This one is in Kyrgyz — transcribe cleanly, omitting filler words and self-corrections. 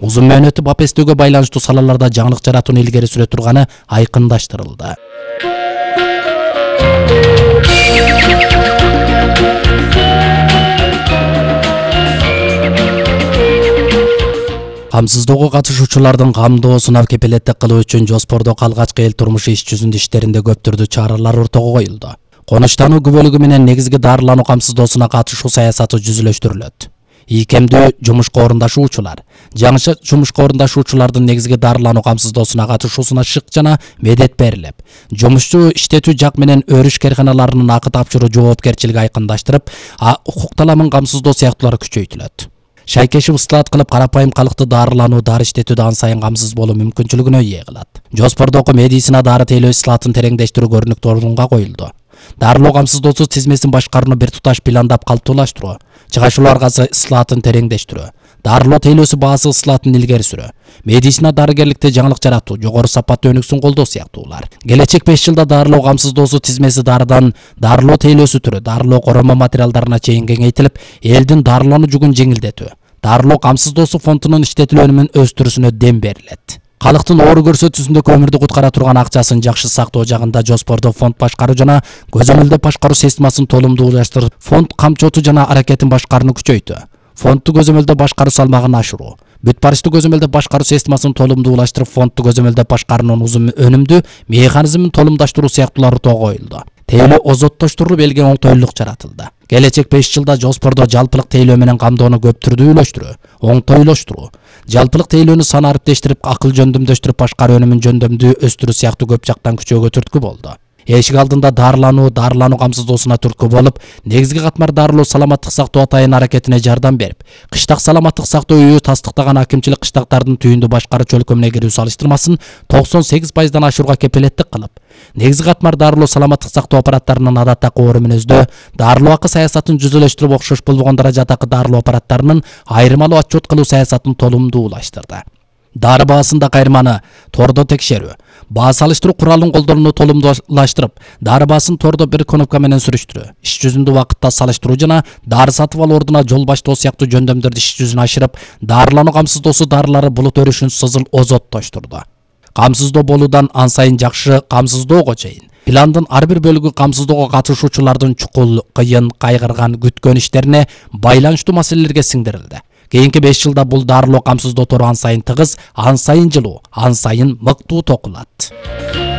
узун мөөнөттүү бап эстөөгө байланыштуу салаларда жаңылык жаратууну илгери сүрө турганы айкындаштырылды. Камсыздоого катышуучулардын камдоосуна кепилеттик кылуу үчүн Жоспордо калгачкы эл турмушу иш жүзүндө иштеринде көп түрдүү чаралар ортого коюлду. Конуштануу күбөлүгү менен негизги дарылануу камсыздоосуна катышуу саясаты жүзүлөштүрүлөт. Ийкемдүү жумушка орундашуучулар, жаңы жумушка орундашуучулардын негизги дарылануу камсыздоосуна катышуусуна шык жана медет берилип, жумушчу иштетүү жак менен өрүш карканаларынын акы тапшыруу жоопкерчилиги айкындаштырып, укук таламын камсыздоо сыяктуулар күчөйтүлөт. Шайкешип ыстылат кылып карапайым калкты дарылануу, дары иштетүүдө ан сайын камсыз болуу мүмкүнчүлүгүнө ээ кылат. Жоспордогу медицина дары тейлөө ыстылатын тереңдештирүү көрүнүктүү орунга коюлду. Дарылоо камсыздоосу тизмесин башкарууну бир туташ пландап калыптуулаштыруу, чыгашуулуу аргасы ыстылатын тереңдештирүү, дарылоо тейлөөсү баасы ыстылатын илгери сүрүү, медицина дарыгерликте жаңылык жаратуу, жогору сапаттуу өнүксүн колдоо сыяктуулар. Келечек 5 жылда дарылоо камсыздоосу тизмеси дарыдан дарылоо тейлөөсү түрү, дарылоо коронма материалдарына чейин кеңейтилип, элдин дарылануу жүгүн жеңилдетүү, дарылоо камсыздоосу фондунун иштетилүүнүн өстүрүүсүнө дем берилет. Калктын оору көрсөтүүсүндө өмүрдү куткара турган акчасын жакшы сактоо жагында Жоспордо фонд башкаруу жана көзөмөлдөө башкаруу системасын толумдуулаштырып, фонд камчоту жана аракетин башкарууну күчөйтүү, фондду көзөмөлдөө башкаруу салмагын ашыруу, бүт барыштуу көзөмөлдөө башкаруу системасын толумдуулаштырып, фондду көзөмөлдөө башкаруунун узун өнүмдүү механизмин толумдаштыруу сыяктуулар ортого коюлду. Тейлөө озоттоштуруп, элге оңтойлук жаратылды. Келечек 5 жылда Жоспордо жалпылык тейлөө менен камдоону көп түрдүүлөштүрүү, оңтойлоштуруу, жалпылык тейлөөнү сан ариптештирип, акыл жөндөмдөштүрүп, башкаруу өнүмүн жөндөмдүү өстүрүү сыяктуу көп жактан күчөөгө түрткү болду. Эшик алдында дарылануу камсыздоосуна түрткү болуп, негизги катмар дарылоо саламаттык сактоо атайын аракетине жардам берип, кыштак саламаттык сактоо үйү тастыктаган акимчилик кыштактардын түйүндү башкаруу чөлкөмүнө кирүү салыштырмасын 98% ашууга кепилеттик кылып, негизги катмар дарылоо саламаттык сактоо аппараттарынын адаттагы оору мүнөздө дарылоо акы саясатын жүзүлөштүрүп, окшош болгон даражадагы дарылоо аппараттарынын айырмалуу отчет кылуу саясатын толумдуулаштырды. Дары баасында кайрманы тордо текшерүү, баа салыштыруу куралын колдонууну толумдуулаштырып, дары баасын тордо бир кнопка менен сүрүштүрүү, иш жүзүндө убакытта салыштыруу жана дары сатып алуу ордуна жол баштоо сыяктуу жөндөмдөрдү иш жүзүнө ашырып, дарылануу камсыздоосу дарылары булут өрүшүн сызыл озоттоштурду. Камсыздоо болуудан ан сайын жакшы камсыздоого чейин пландын ар бир бөлүгү камсыздоого катышуучулардын чукул, кыйын, кайгырган, күткөн иштерине байланыштуу маселелерге сиңдирилди. Кийинки 5 жылда бул дарылоо камсыздоо тору ан сайын тыгыз, ан сайын жылуу, ан сайын мыктуу токулат.